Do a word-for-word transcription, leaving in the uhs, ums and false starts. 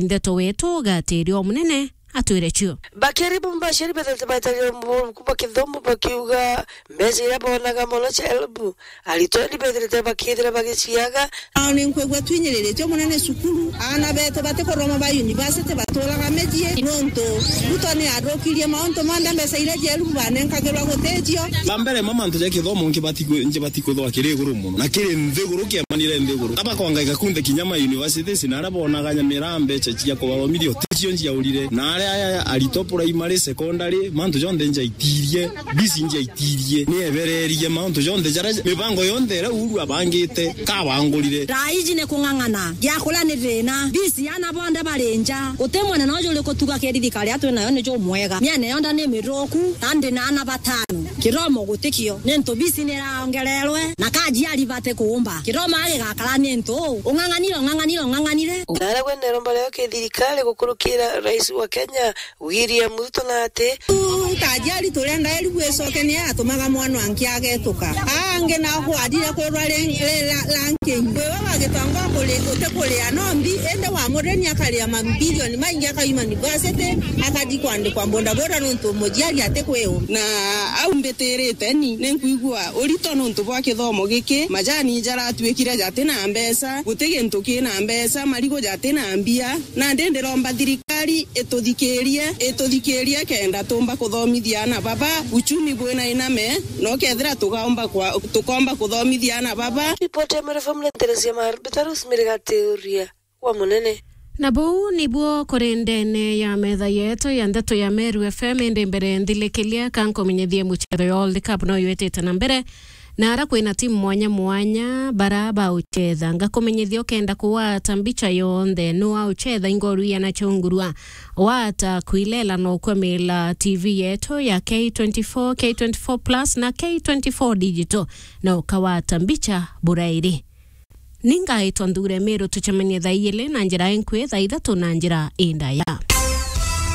ndeto wetu gatiri o munene atwire cio. Bakiri bamwe baciari bethirite baitagia mubuku bwa kithomo bakiuga mbeca iria bonaga mono cia help, aritwa ni bethirite bakithira bagiciaga. Ao ni nkwigua twinyiriritio munene cukuru, aana betu batikuroma ba university baturaga micii, nontu Ruto ni athukirie mauntu monthe, mbeca iria cia help banenkagirwa guticio. Ba mbere ma mantu ja kithomo nkibati ku-, nkibati kuthwa kiri iguru muno, na kiri nthiguru, kiemanire nthiguru. Aba kwangaika kunthe kinya ma universities, na aria bonaga nyamira mbeca cia kubathomithia uticio njiaurire, na aria aya aritwa primary, secondary, mantu jonthe njaitirie, bisi njaitirie, ni ebererie mauntu jonthe jaria, mibango yonthe iria Uhuru abangite, kabangurire. Thaa iji ni kung'ang'ana, gia kuria ni thina, bisi ana bonthe bari nja, guti mwene noju uri kutuga kiri thirikari atwi nayo ni jumwega, miene yonthe ni mithuku, na ndi na ana batano. Kithomo gutikio, nintu bisi ni iraongererwe, na kajiari bati kuumba. Kithomo agigakara nintu ung'ang'anire, ung'ang'anire, ung'ang'anire. Naria gwe neromba rio ki thirikari gukurukira rais wa Kenya, William Ruto na ati, kajiari turenda eri gwicoke ni atumaga mwana angi agetuka. Angi na kwarire kurwa ri-, ri-, la-, ranking. Wewe wagitangwa kuri, utikuria no mbi, indi wa mureni akaria mabilioni maingi, akaima university, akathi kwandikwa bodaboda nontu mujiari atikwiu. Na au mbitirite ni, ni nkwigua urito nontu bwa kithomo giki, majani jaratuikire jati na mbeca, guti gintu kina mbeca, marigu jati na mbia. Nandi ndiromba thirikari ituthikirie, ituthikirie kenda tumba kuthomithia ana baba, uchumi bwina iname, na ukethira tugaomba kwa, tukomba kuthomithia ana baba. Ripoti ya Meru F M ni Teresia Maru, Peter Rosemary Gatiuria wa Munene. Na buu nibuo kuri ndene ya metha yetu ya ndeto ya Meru F M, indi mbere nthilikilia ka nkumenyithie mucetho ya World Cup no yetite na mbere. Na ara kwina timu mwanya mwanya bara baucetha, ngakumenyithia ukenda kuwata mbicha yonthe nu aucetha ingoru ya nachungurua. Wata kwilela no kwemela T V yetu ya K twenty-four, K twenty-four plus na K twenty-four digital, na ukawata mbicha burairi. Ningaitwa Nthure Meru, tucemanie thaa igiri na njira inkui, thaa ithatu na njira indaya.